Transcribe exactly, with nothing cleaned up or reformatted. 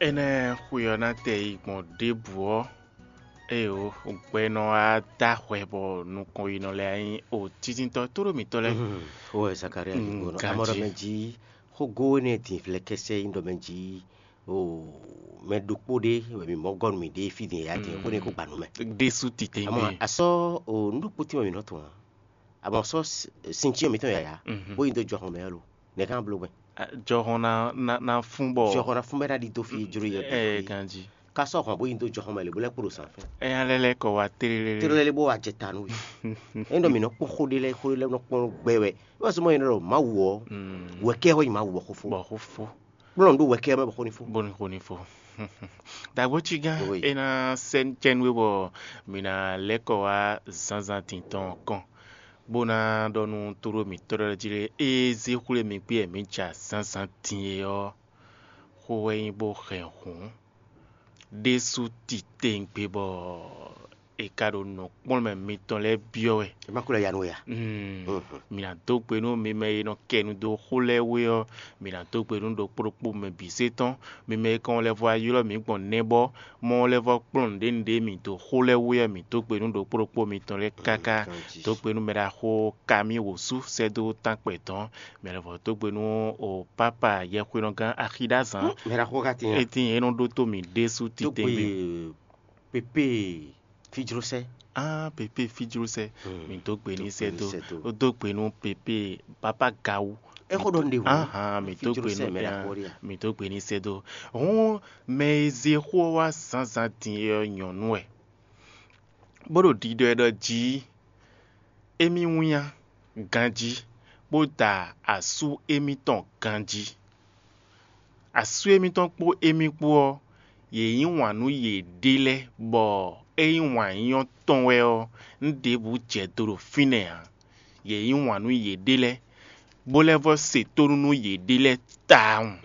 Énɛ́ xwe ɔ́ ná tɛ yi gbɔn ɖěbǔ ɔ́, ée o, gbɛ nɔ wá dó ahwɛ bɔ nukɔn yi nɔ lɛ́ɛ nyí o titintɔ tóɖó mǐtɔn lɛ́ɛ. Xó wɛ Zakaria ɖi gbɔn amɔ ɖɔ mɛ jí xógó énɛ́ din vlɛkɛsɛ nyí ɖɔ mɛ jí o mɛ ɖokpó ɖé wɛ mi mɔ gɔ́ nú mì ɖé fí din ya din xó ne kó gba nú mɛ. Ɖésú titɛngbé. Amɔ asɔ o nú ɖokpó tín wɛ mi nɔ tɔn a amɔ sɔ sincyɛn mǐtɔn yaya bó yi dó jɔxɔn mɛ lo nɛ̌ ká bló gbɛn. Jɔxɔn ná ná ná fún bɔ jɔxɔn ná fún bɛ ná ɖi dó fi jló yɛ ɛ ganji. Ká sɔ́ hɔn bó yi dó jɔxɔn mɛ lě bó lɛ́ kpo ɖo zǎn fɛ́n. Ɛ alɛ lɛ́ kɔ wá tlélé. Tlélé bó wá jɛ ta nú we. É ɖɔ mǐ nɔ kpɔ́n xó ɖé lɛ́ɛ xó ɖé lɛ́ɛ nɔ kpɔ́n gbɛ wɛ. É wá sɔ́ mɔ é nɔ ɖɔ Mawu ɔ́ wɛ̌kɛ́ ɔ́ nyi Mawu ɔ́ xó fó. Bɔ xó fó. Kplɔ́n ɖó wɛ̌kɛ́ ɔ́ mɛ bɔ xó ní fó. Bó ní xó ní fó. Dǎgbó cí gán é ná sɛ́ cɛ́nú é bɔ mǐ ná lɛ́ kɔ wá zǎnzǎn din tɔn ɔ́ kɔn, bó ná ɖɔ nú tóɖó mǐtɔn lɛ́ɛ jí lé, ée zé xwlé mi gbé wɛ mǐ ja zǎnzǎn din é ɔ́, xó wɛ nyí bó hɛn hǔn ɖésú titewungbe bɔ è ka ɖo nǔkplɔ́nmɛ mitɔn lɛ́ɛ byɔ́ wɛ. È má kó lɛ́ ya nú we a? Mm. Mǐ ná dó gbe nú mi mɛ e nɔ kɛ nu dó xó lɛ́ɛ wé ɔ́, mǐ ná dó gbe nú ɖokpó ɖokpó mɛ bǐ zé tɔn. Mi mɛ e kɔn lɛ́ vɔ ylɔ́ mǐ gbɔn nɛ́bɔ mɔ lɛ́ vɔ kplɔ́n nǔɖé nǔɖé mì dó xó lɛ́ɛ wú ɔ́, mǐ dó gbe nú ɖokpó ɖokpó mitɔn lɛ́ɛ káká. Dó gbe nú mɛɖaxó Kamí wǒsú sɛ́ dó tánkpɛ dɔn. Mɛ lɛ́ vɔ dó gbe nú o pápa yɛhwelɔ́gán Axidázán. Mɛɖaxó ka tín a? Etín e nɔ ɖótó mì ɖésú titɛngbé. Pépé fíjlósɛ. Ah, pépé fíjlósɛ. Mǐ dó gbe ní sɛ́ dó. Ó dó gbe nú pépé pápá gawú. É xó ɖɔ nɖe hǔn. Ahan, mǐ dó gbe nú mɛ ɖaxó ɖe a? Mǐ dó gbe ní sɛ́ dó. Hǔn mɛ e zé xó ɔ́ wá zǎnzǎn din é ɔ́ nyɔ̌nu wɛ, bó ɖo ɖiɖɔ ɛ ɖɔ jí émí wínnyá ganjí, bó da asú émítɔn ganjí. Asú émítɔn kpó émí kpó ɔ́, yě yí wǎn nú yěɖée lɛ́ɛ, bɔ ényí wǎn yíyɔ́ tɔn wɛ ɔ́, nǔ ɖěbǔ jɛ do ɖo fínɛ́ ǎ. Yě yí wǎn nú yěɖée lɛ́ɛ, bó lɛ́ vɔ́ se tónú nú yěɖée lɛ́ɛ tawun.